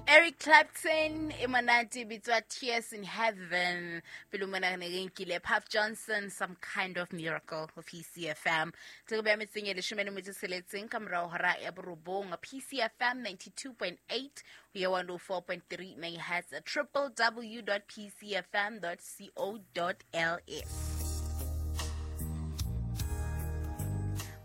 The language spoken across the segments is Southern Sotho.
Eric Clapton e monate bitswa Tears in Heaven pele mona re ne re nkile Puff Johnson Some Kind of Miracle ho PCFM tse re beya metseng e 16 ka morao hora ya borobong. PCFM 92.8 ho ya 104.3 megahertz, www.pcfm.co.ls.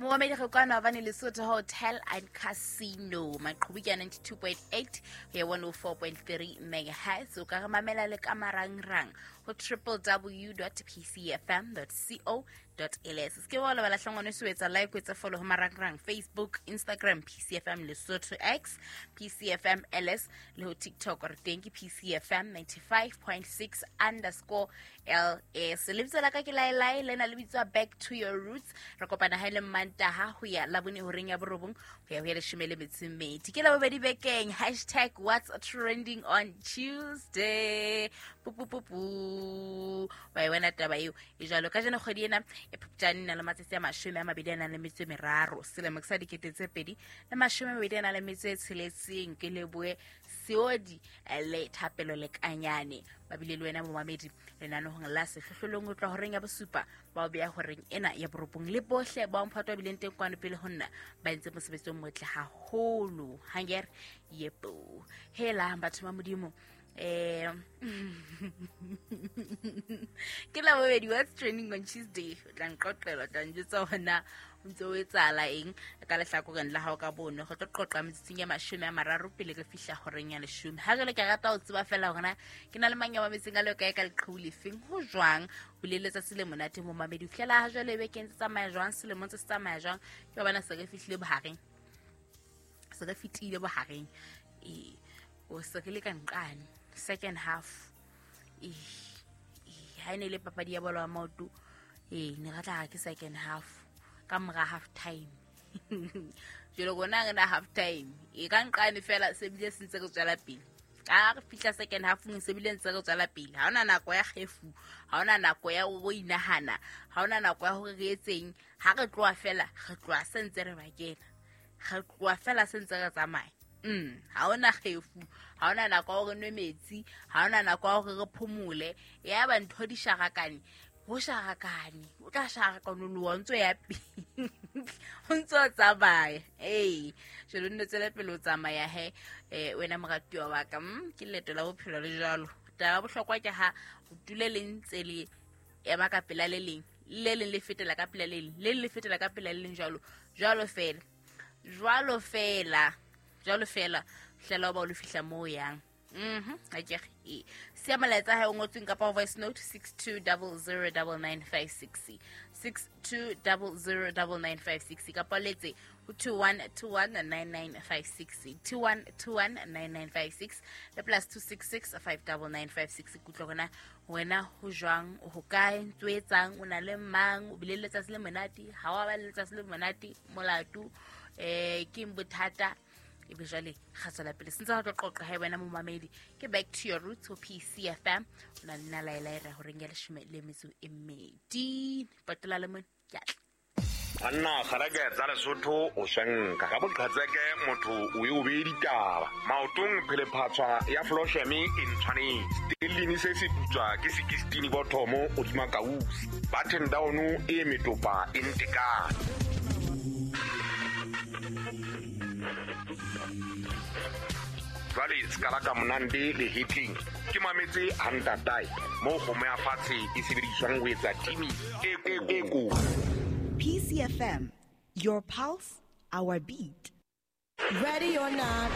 Momamedi, re kwana bane Lesotho Hotel and Casino, maqhubu ke 92.8 ho ya 104.3 megahertz. O ka re mamela le ka marangrang ho www.pcfm.co.ls. Se ke wa lebala hlongwane se etsa like, o etsa follow ho marangrang Facebook, Instagram PCFM Lesotho, X PCFM LS, le ho TikTok re teng ke PCFM 95.6_LS. Lebitso la ka ke Laelae, lena le bitswa Back to Your Roots. Re kopana ha e le Mantaha ho ya Labone horeng ya 9 ho ya ho ya 12. Ke Labobedi bekeng. Hashtag what's trending on Tuesday. Pupupupu, wa e wena taba eo e jwalo. Ka jeno kgwedi ena e Phupjane na le matsatsi a 23, selemo ke sa 2026. Ke leboe Seodi le Thapelo le Kanyane ba bile le wena momamedi lenanehong la Sehlohlolong o tloha horeng ya 7 ba o beya horeng ena ya 9, le bohle ba mphato ba bileng teng kwano pele ho nna ba entse mosebetsi o motle haholo. Hanger yepo hela batho ba Modimo. Ke Labobedi, what's trending on Tuesday. O tla nqoqela, o tla njwetsa hona o ntse o etsahala eng ka lehlakoreng la hao ka bono. Re tlo qoqa metsotsong ya 30 pele re fihla horeng ya 10. Ha jwale ke rata ho tseba fela hore na ke na le mang ya mametseng a le kae ka leqhubu lefeng, ho jwang o le letsatsi le monate momamedi. Ho fihlela ha jwale bekeng tse tsamaya jwang, selemong se tsamaya jwang, ke hobane se re fihlile bohareng, se re fetile bohareng, ee o se re le ka nqane second half. Ha e ne le papadi ya bolo ya maoto, ee ne re tla re ke second half ka mora half time. Jwale rona re na half time e ka nqane fela, se bile se ntse re tswela pele. Ka re fihla second half se bile ntse re tswela pele. Ha hona nako ya kgefu, ha hona nako ya ho inahana, ha hona nako ya hore re etseng. Ha re tloha fela, re tloha se ntse re ba kena, re tloha fela se ntse re tsamaya. Ha hona kgefu, ha hona nako ya hore nwe metsi, ha hona nako ya hore re phomole. Ya ba ntho di sharakane, ho sharakane, o tla sharakanoloha o ntso ya pele, o ntso tsamaya. Ee jwale o nne tswele pele o tsamaya he. Wena moratuwa wa ka, ke leeto la bophelo le jwalo. Taba ya bohlokwa ke ha o dule le ntse le ema ka pela le leng, le leng le fetela ka pela le leng, le leng le fetela ka pela le leng, jwalo jwalo fela, jwalo fela, jwalo fela, hlela o ba o lo fihla moo yang. Akere e siya molaetsa hae o ngotsweng kapa voice note 62009956, 62009956, kapa letse ho 21219956, 21219956 le +266 59956. Kutlwa hona wena ho jwang, ho kae, ntso etsang, o na le mang, o bile le letsatsi le monate, ha wa ba le letsatsi le monate, molato ke bothata. Ebe jwale ga tswela pele sentse re tlo qoqa ha wena momamedi. Ke Back to Your Roots ho PCFM, o na le nna Laela e re horeng ya 12. Potola le mone ke atla. Banna kgareke tsa Lesotho o swenka ka boqhetseke, motho o e o beye ditaba maotong, phelephatshwa ya flosheme e ntshwanetse stellini se se putswa ke 16 bothomo hodima kausi button down e metopa e ntekane. Jwale se ka monande le hitling ke mametse hantatae mo kgomo ya fatshe e sebediswang ho etsa timi e ko. PCFM, your pulse, our beat. Ready or not,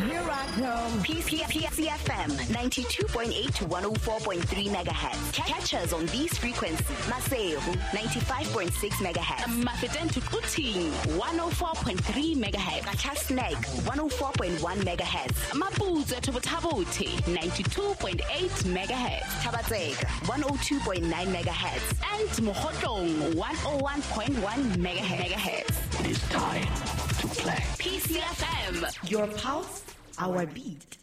here I come. PCFM 92.8 to 104.3 megahertz. Catch us on these frequencies. Maseru 95.6 megahertz. Mafeteng to Quthing 104.3 megahertz. Qacha's Nek 104.1 megahertz. Maputsoe to Botha-Bothe 92.8 megahertz. Thaba-Tseka 102.9 megahertz. And Mokhotlong 101.1 megahertz. It is time to play. PCFM, your pulse, our beat.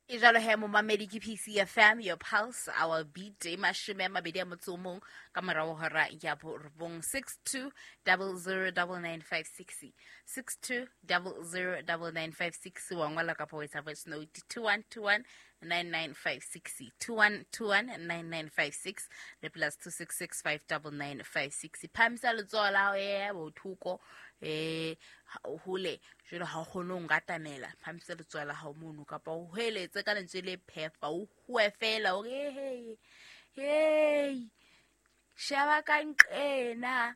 E jalo he momamedi ke PCFM, your pulse, our beat, e 21 ka morao hora ya borobong. 62009956, 62009956, wa ngola kapa wa etsa voice note 21219956, 21219956 le plus 266599956. Phamisa letsoho la hao e bothoko hole jwale ha o kgone ho nkatamela, phamisa letsoho la hao mono kapa o hweletse ka lentswe le phefa, o hwe fela hore hey hey sheba ka nqena,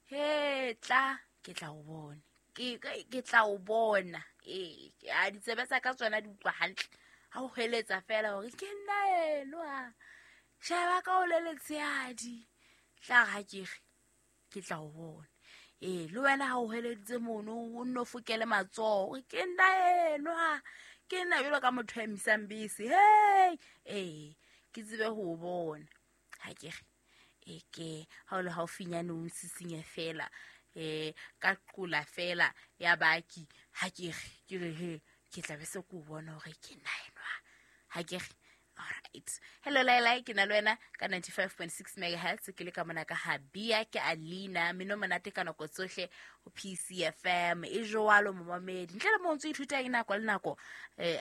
he tla ke tla o bona, ke tla o bona. A ditsebe tsa ka tsona di utlwa hantle ha o hweletsa fela hore ke nna enwa, sheba ka o le letshehadi, tla ha ke re ke tla o bona. Le wena ha o hweleditse mono o nno fokele matsoho ke nna enwa, ke nna jwalo ka motho a emisang bese, hey ke tsebe ho o bona. Ha ke re ke ha o le haufinyane o nsisinye fela ka qola fela ya baki, ha ke re ke re he ke tla be se ke o bona hore ke nna enwa. Ha ke re alright. Hello Laila, ke na le wena ka 95.6 megahertz, ke le ka mona ka Habia, ke Alina, mino monate ka nako tsohle ho PCFM. E jwalo momamedi, ntle le mo ntse ithuta eng nako le nako,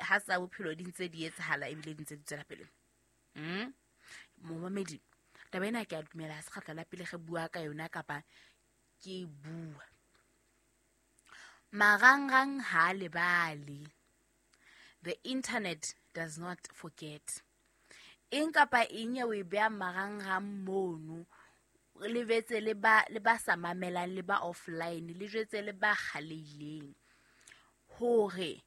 ha tsa bophelo di ntse di etsahala ebile di ntse di tswela pele. Momamedi, taba ena ke a dumela ha se kgetlo la pele re bua ka yona kapa ke bua. Marangrang ha lebale. The internet does not forget. Eng kapa eng ya o e beha marangrang mono, le betse le ba sa mamelang, le ba offline, le jwetse le ba kgaleileng hore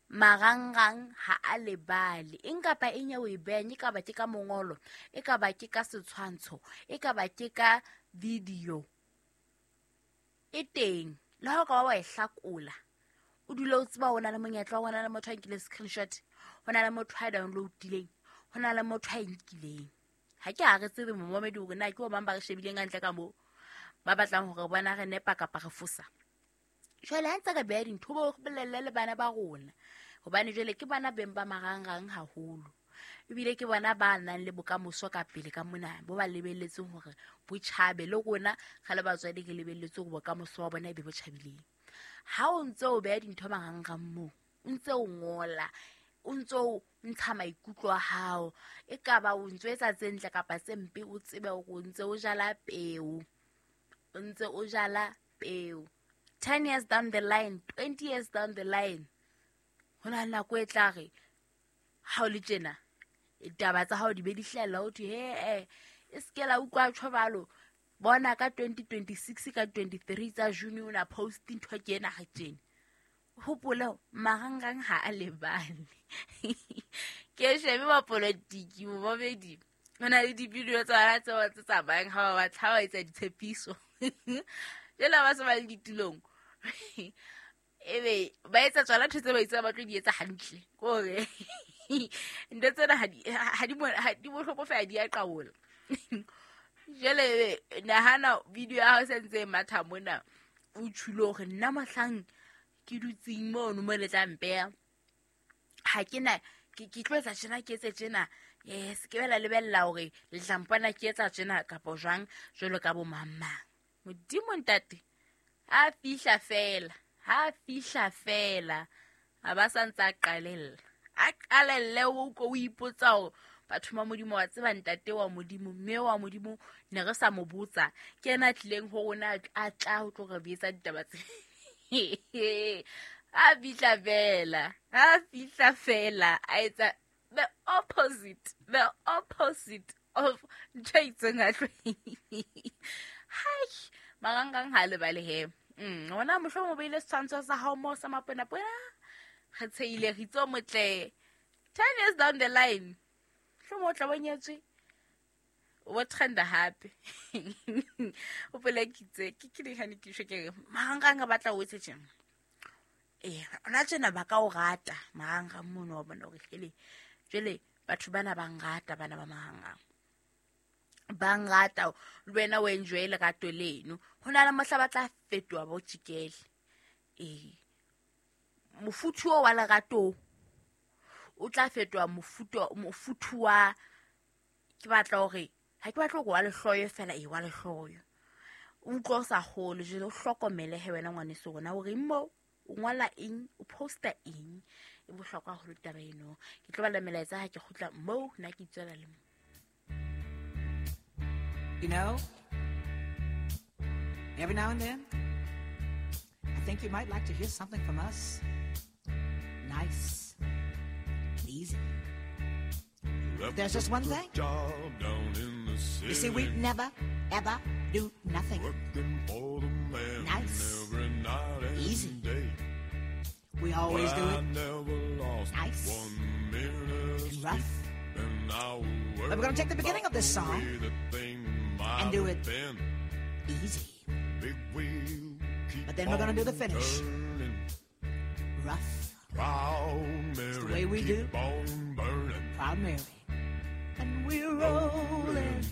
marangrang ha a lebale. Eng kapa eng ya o e behang, e ka ba ke ka mongolo, e ka ba ke ka setshwantsho, e ka ba ke ka video, e teng. Le ha o ka ba wa e hlakola, o dule o tseba ho na le monyetla, ho na le motho a nkile screenshot, ho na le motho a downloadileng, ho na le motho a nkileng. Ha ke ha re tsebe momamedi hore na ke bo mang ba re shebileng hantle ka moo, ba batlang hore bona re nepa kapa re fosa. Jwale ha ntse re beha dintho, bo bolelle le bana ba rona, hobane jwale ke bana beng ba marangrang haholo, ebile ke bona ba nang le bokamoso ka pele ka mona, bo ba lebelletseng hore bo tjhabe. Le rona re le batswadi re lebelletse hore bokamoso wa bona e be bo tjhabileng. Ha o ntse o beha dintho marangrang moo, o ntse o ngola, o ntse o ntsha maikutlo a hao, e ka ba o ntse o etsa tse ntle kapa tse mpe, o tsebe hore o ntse o jala peo, o ntse o jala peo. 10 years down the line, 20 years down the line, ho na le nako e tla re ha o le tjena, ditaba tsa hao di be di hlahella, ho thwe he e se ke la utlwa tjho jwalo. Bona ka 2026 ka 23 tsa June o na post ntho ke ena ha tjena. Hopole marangrang ha a lebale. Ke shebe ba politiki momamedi, ho na le di-video tsa bona tseo tse tsamayang ha ba batla ba etsa ditshepiso. Jwale ha ba se ba le ditulong, ebe ba etsa tsona ntho tse ba itseng ba tlo di etsa hantle. Ke hore ntho tsena ha di bohloko fela, di a qabola. Jwale nahana video ya hao e sentse e matha mona, o tjhule hore nna mohlang ke dutseng mono mo le tla mpeha, ha ke na ke tlo etsa tjena, ke etse tjena, se ke be la lebella hore le tla mpona ke etsa tjena kapa jwang jwalo ka bo mang mang. Modimo ntate, ha fihla fela, ha fihla fela, ha ba sa ntse a qalella, a qalelle o ko o ipotsa hore batho ba Modimo wa tseba ntate wa Modimo, mme wa Modimo ne re sa mo botsa, ke yena a tlileng ho rona a tla ho tlo re betsa ditaba tse. A fihla fela, a fihla fela, a etsa the opposite of ntho e itseng a tlo. Hai, marangrang ha lebale he. Ona mohlomong o beile setshwantsho sa hao moo sa maponapona, re tsheile re itse o motle. 10 years down the line, mohlomong o tla bo nyetswe, o bo trenda hape. O pele ke itse ke dihane ke tjho ke re marangrang a batla o etse tjena. Ona tjena ba ka o rata marangrang mono, wa bona hore hele jwale batho bana ba nrata, bana ba marangrang ba nrata, le wena o enjoy lerato leno. Ho na le mohla ba tla fetoha ba o tjikele. Mofuthu oo wa lerato O tla fetoha mofuthu wa ke batla hore ha ke batla hore wa lehloyo fela e wa lehloyo. O utlwa o sa kgole jwale o hlokomele he wena ngwaneso rona hore mo o ngola eng, o posta eng. E bohlokwa haholo taba eno. Ke tlo bala melaetsa ha ke kgutla moo, nna ke itswela le mo. You know, every now and then, I think you might like to hear something from us. Nice and easy. There's just one thing. You see, we never, ever do nothing. Nice. Easy. We always do it nice and rough. But we're going to take the beginning of this song and do it easy. But then we're going to do the finish rough. It's the way we do. Proud Mary. And we're rolling.